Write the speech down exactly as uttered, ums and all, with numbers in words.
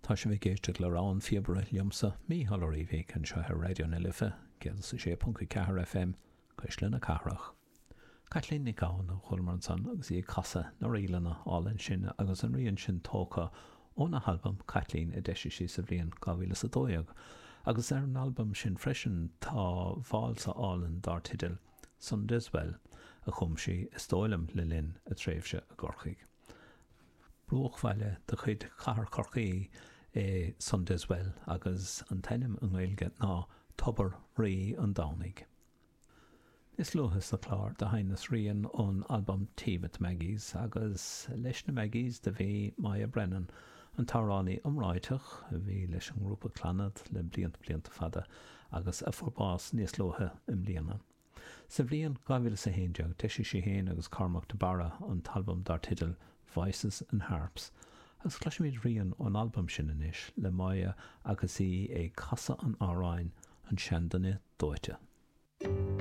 Tá sibh ag éisteacht le Rogha an Phíobaire liomsa Mícheál Ó Riabhaigh anseo ar Raidió na Life céad is a sé ponc a ceathair FM Cuisle na Cathrach. Caitlín Nic Gabhann a chualamar ansan agus í ag casadh na ríleanna álainn sin agus an rian sin tógtha óna halbam Caitlín a d'eisigh sí sa bhliain dhá mhíle is a dó dhéag agus ar an albam sin freisin tá válsa álainn dar teideal Sunday's Well a chum sí is dóigh liom le linn a tréimhse i gCorcaigh. Bruachbhaile de chuid Chathair Chorcaí é Sunday's Well agus an t-ainm i nGaeilge ná Tobar Rí an Domhnaigh. Níos luaithe sa chlár do sheinneas rian ón albam Tea with Maggies agus leis na Maggies do bhí Moya Brennan, an t-amhránaí iomráiteach a bhí leis an ngrúpa Clannad le blianta blianta fada agus a fuair bás níos luaithe i mbliana. Sa bhliain dhá mhíle is a haon déag d'eisigh sí féin agus Cormac de Barra an t-albam dar teideal Voices and Harps, agus cloisfimid rian ón albam sin anois le Moya agus í ag casadh an amhráin An Seanduine Dóite.